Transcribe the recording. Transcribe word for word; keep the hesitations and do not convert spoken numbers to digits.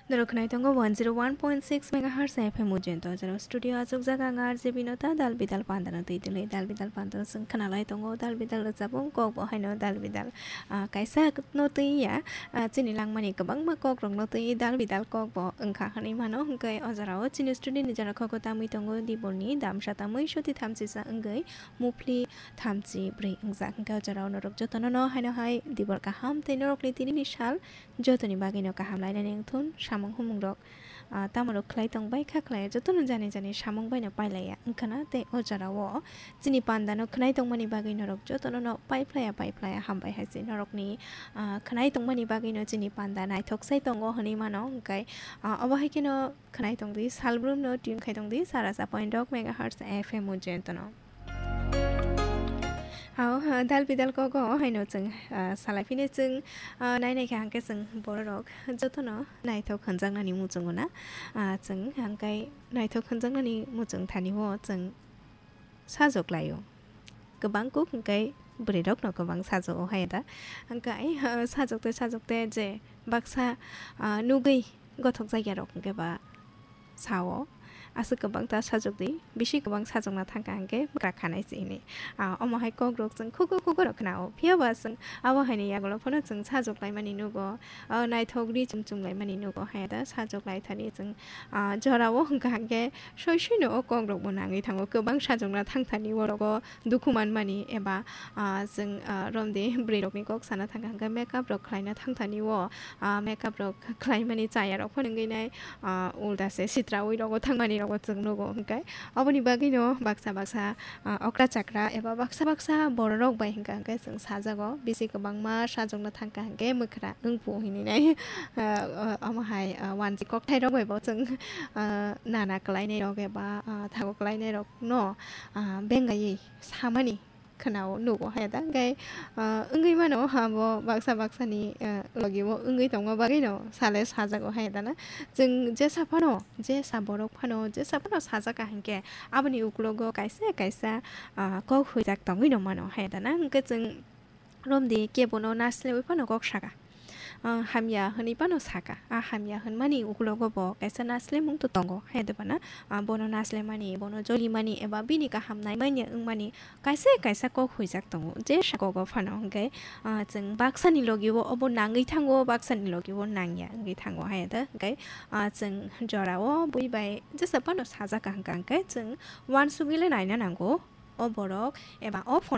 Norok khwnai tongo one zero one point six megahertz F M Ujjain. To jora studio achukjak ang R J Binota, dal bidal pandano twi twlwi, dal bidal pandano chwng khwnalai tongo, dal bidal rwchapung kok bo haino dal bidal, ah, kaisa no twi ya, ah, chini langmani kwbangma kok rokno twi dal bidal kok bo wngkha hwnwi mano. Hwnkhe o jorao chini studio ni jora kok o tamwi tongo Dibolni damsa tamwi soti thamchisa wngwi muphli thamchi bwrwi wngjak. Hwnkhe o jorao norok jotono no haino hai Dibol kaham tei norokni tinini sal jotoni bagwino kaham lainani wngthun samung humung rok, ah, tamo rok khlai tong bai kha khlai jotono jani jani samung baino pailaiya wngkhana tei o jorao chini pandano khwnai tongmani bagwi norok jotono no paiphlaiya paiphlaiya hambai hai se norokni, ah, khwnai tongmani bagwino chini panda naithok sai tongo hwnwi mano hwnkhe, ah, obo hai kheno khwnai tongdi salbrumno tune khai tongdi sara sa point rok megahertz F M Ujjain tono. Ao, ah, dal bidal kogo haino chwng, ah, salai phini chwng, ah, nai nai kha hwnkhe chwng bororok jotono naithok hwnjaknani muchungo na, ah, chwng hwnkhe naithok hwnjaknani muchung thani o chwng sajok laio. Kwbang kuk hwnkhe bwrwirokno kwbang sajogo hai da. Hwnkhe, ah, sajokte sajokte je baksa, ah, nugwi gothok jakya rok hwnkhe ba sao, aswk kwbang ta sajokdi, bisi kwbang sajokna thangkha hwnkhe bwkra khanai se hwnwi. Ah, omo hai kok rok chwng khugo khugo rok khnao. Phiya ba chwng abo haini yagulo phano chwng sajok laimani nugo, ah, naithok ri chum chum laimani nugo hai da sajok lai thani chwng, ah, jorao hwnkha hwnkhe soi soino o kok rok bo nangwi thango. Kwbang sajokna thang thani orogo dukhu manmani eba, ah, chwng, ah, romdi bwrwi rokni kok sana thangkha hwnkhe makeup rok khlaina thang thani o, ah, makeup rok khlaimani chaya rok phano wngwi nai, ah, ulta se sitraui rogo thangmani rogo chwng nugo hwnkhe. Aboni bagwino baksa baksa, ah, okra chakra eba baksa baksa bororok bai hwnkha hwnkhe chwng sajago bisi kwbangma sajokna thangkha hwnkhe mwkhra wngphu hinwi nai. Ah, ah, omo hai, ah, wanjwi kokthai rok bai bo chwng, ah, nana kwlainai rok eba, ah, thago kwlainai rok no, ah, bengaiwi samani khwnao nugo hai da. Hwnkhe, ah, wngwi mano abo baksa baksani, ah, logi o wngwi tongma bagwino sale sajago hai da na. Chwng jesa phano, jesa borok phano, jesa phano sajak kaham khe aboni ukulogo kaisa kaisa, ah, kok huijak tongwi no mano hai da na. Hwnkhe chwng romdi kebono naslewi phano kok saka. Ah, hamya hwnwi phano saka. Ah, hamya hwnmani ukulogo bo kaisa naslemung to tongo hai da bana. Ah, bono naslemani, bono jolimani eba bini kaham naimanya wngmani kaisa kaisa kok huijak tongo, jesa kogo phano hwnkhe, ah, chwng baksani logi o obo nangwi thango, baksani logi o nangya wngwi thango hai da. Hwnkhe, ah, chwng jorao bui bai jesa phano sajak kaham kaham khe chwng uansugwi le naina nango o borok eba o phone